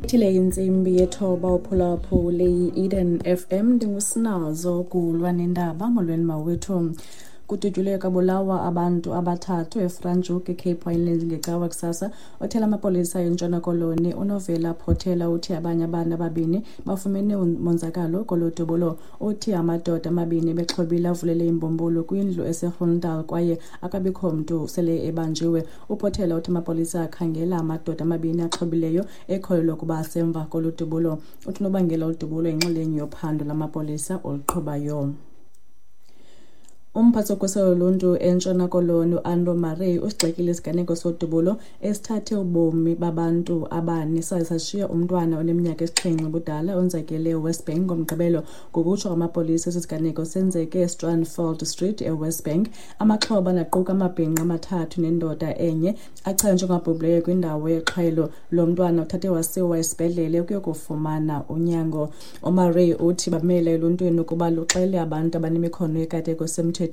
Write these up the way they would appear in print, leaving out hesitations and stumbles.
Ithile intsimbi yethoba uphulaphule yi-Eden FM, ndinguSinazo Gulwa nendaba. Molweni mawethu. Kudutyulwe kwabulawa abantu abathathu eFranschhoek eCape Winelands ngeCawa kusasa. Othela amapolisa eNtshona Koloni uNovela Potelwa uthi abanye abantu ababini bafumene umonzakalo kolo dubulo. Uthi amadoda amabini ebexhobile avulele imbumbulu kwindlu eseGroendal kwaye akabikho mntu sele ebanjiwe. UPotelwa uthi amapolisa akhangela amadoda amabini axhobileyo ekholelwa ukuba asemva kolu dubulo. Uthi unobangela wolu yinxalenye yophando lamapolisa oluqhubayo. Umphathi wokhuselo loluntu eNtshona Koloni uAnro Murray usigxekile isiganeko sodubulo esithathe ubomi babantu abane saze sashiya umntwana oneminyaka esixhenxe ubudala onzakele eWest Bank ngoMgqibelo. Ngokutsho kwamapolisa, esi siganeko senzeke eStrandveld Street eWest Bank. Amaxhoba naquka amabhinqa amathathu nendoda enye achazwe njengabhubhileyo kwindawo yexhwayelo. Lo mntwana uthathe wasiwa esibhedlele ukuyokufumana unyango. UMurray uthi bamele eluntwini ukuba luxele abantu abanemikhono yekati ngokusemthethweni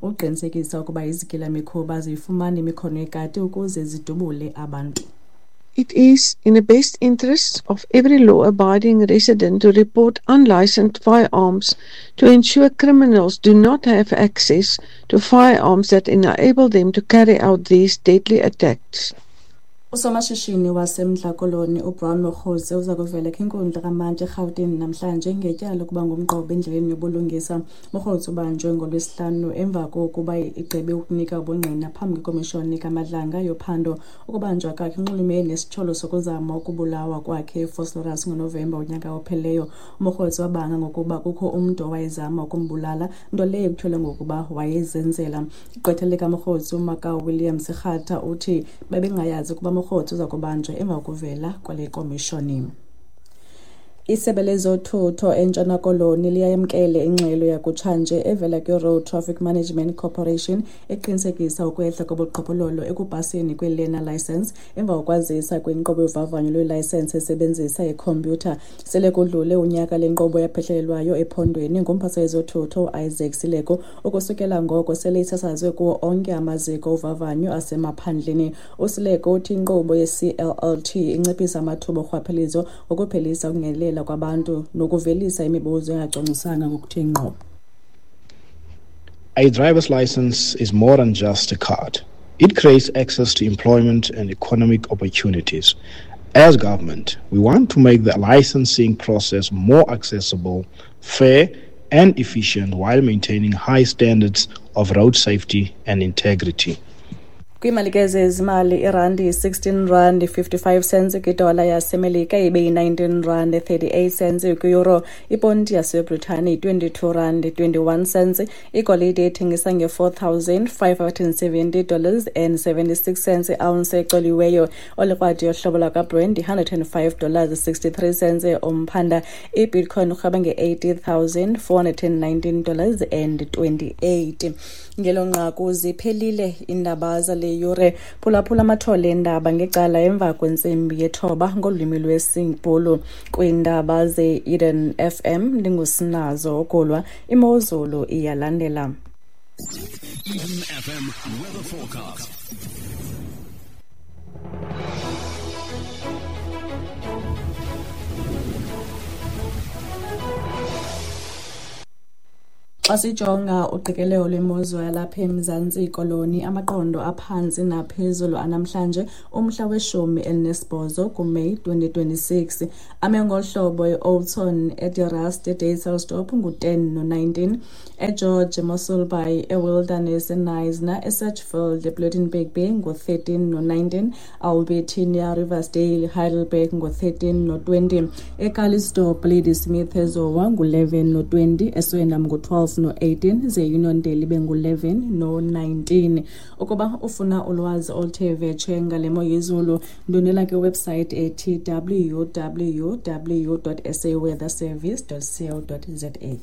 ukuqinisekisa ukuba izigilamkhuba aziyifumani imikhono yekati ukuze zidubule abantu. It is in the best interests of every law-abiding resident to report unlicensed firearms to ensure criminals do not have access to firearms that enable them to carry out these deadly attacks. Usomashishini waseMntla Koloni uBrown Mogotsi uza kuvela kwinkundla kamantyi eRhawutini namhlanje ngetyala lokuba ngumqobo endleleni yobulungisa. Mogotsi ubanjwe ngoLwesihlanu emva kokuba egqibe ukunika ubungqina phambi kwekomishoni kaMadlanga yophando. Ukubanjwa kwakhe kunxulumene nesityholo sokuzama ukubulawa kwakhe eVosloorus ngoNovemba wonyaka ophelileyo. UMogotsi wabanga ngokuba kukho umntu owayezama ukumbulala, nto leyo ekutyholwa ngokuba wayezenzela. Igqwetha likaMogotsi uMakau Williams Rhatha uthi bebengayazi ukuba Mogotsi uza kubanjwa emva kokuvela kwale komishoni. Isebe lezothutho eNtshona Koloni liyayamkele ingxelo yakutshanje evela kwi-Road Traffic Management Corporation eqinisekisa ukwehla kobuqhophololo ekupaseni kwe-learner licence emva kokwazisa kwenkqubo yovavanyo lweelayisensi esebenzisa ikhompyutha. Sele kudlule unyaka le nkqubo yaphehlelelwayo ephondweni ngumphathiswa wezothutho uIsaac Sileko. Ukusukela ngoko sele isasazwe kuwo onke amaziko ovavanyo asemaphandleni. USileko uthi inkqubo ye-CLLT inciphisa amathuba orhwaphilizo ngokuphelisa ukungenelela kwabantu nokuvelisa imibuzo engacwangciswanga ngokuthe ngqo. A driver's license is more than just a card. It creates access to employment and economic opportunities. As government, we want to make the licensing process more accessible, fair, and efficient while maintaining high standards of road safety and integrity. Kwiimali ke zezimali, irandi yi-16 rand 55 cents kwidola yaseMelika, ibe yi-19 rand 38 cents kwi-euro. Iponti yaseBritane yi-22 rand 21 cents. Igolide ithengisa nge-$4,570 and 76 cents iounce ecoliweyo. Olikrwadi yohlobo lwakwaBrent yi-$105 63 cents umphanda. Ibitcoin urhweba nge-$80,419 and 28. Ngelo nqaku ziphelile iindaba zale yure. Phulaphula amathole eendaba ngecala emva kwentsimbi yethoba ngolwimi lwesiBhulu kwiindaba ze-Eden FM. Ndingusinazo Ogulwa. Imozulu iyalandela. Eden FM weather forecast. Xa sijonga uqikelelo lwemozulu yalapha eMzantsi Koloni, amaqondo aphantsi naphezulu anamhlanje umhla we-18 kuMeyi 2026 ame ngolu hlobo: eOudtshoorn, eDe Rust, eDysselsdorp ngu-10 no-19, eGeorge, eMossel Bay, eWilderness, eKnysna, eSedgefield, ePloegenberg Bay ngu-13 no-19, Albertinia, Riversdale, Heidelberg ngu-13 no-20, eCalitzdorp, Ladysmith, eZowa ngu-11 no-20, eSwellendam ngu-12 no-18, ze Uniondale ibe ngu-11 no-19. Ukuba ufuna ulwazi oluthe vetshe ngale mo yezulu, ndwendwela kwiwebhusayithi ethi www.saweatherservice.co.za.